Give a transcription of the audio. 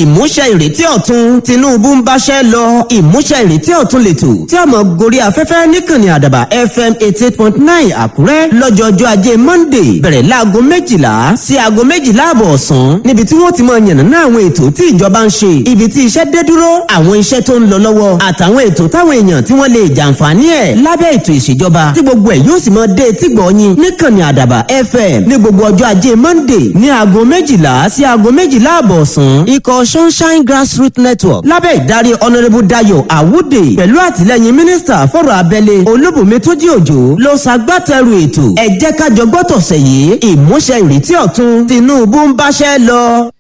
Ìmúṣẹ ìrètí ọ̀tun, Tinubu ń báṣẹ́ lọ. Ìmúṣẹ ìrètí ọ̀tun lètò tí a mọ̀ gorí afẹ́fẹ́ níkànnì Àdàbà FM 88.9 Àkúrẹ́ lọ́jọ́jọ́ ajé Monday, bẹ̀rẹ̀ láago 12 sí aago 12:30 ọ̀sán, níbi tí wọ́n ti mọ yànnàná àwọn ètò tí ìjọba ń ṣe, ibi tí iṣẹ́ dé dúró, àwọn iṣẹ́ tó ń lọ lọ́wọ́, àtàwọn ètò táwọn èèyàn tí wọ́n lè jàǹfààní ẹ̀ lábẹ́ ètò ìṣèjọba, tí gbogbo ẹ̀ yóò sì mọ dé etí gbọ̀ọ́yìn níkànnì Àdàbà FM ní gbogbo ọjọ́ ajé Monday ní aago 12 sí aago 12:30 ọ̀sán. Ikọ̀ Sunshine Grassroots Network lábẹ́ ìdarí Honourable Dayo Awude pẹ̀lú àtìlẹ́yìn mínísítà fọ̀rọ̀ abẹ́lé Olúbùnmi Túnjí Òjò ló ṣagbátẹrù ètò. Ẹ jẹ́ ká jọ gbọ́ tọ̀sẹ̀ yìí, ìmúṣẹ ìrètí ọ̀tun, Tinubu ń báṣẹ́ lọ.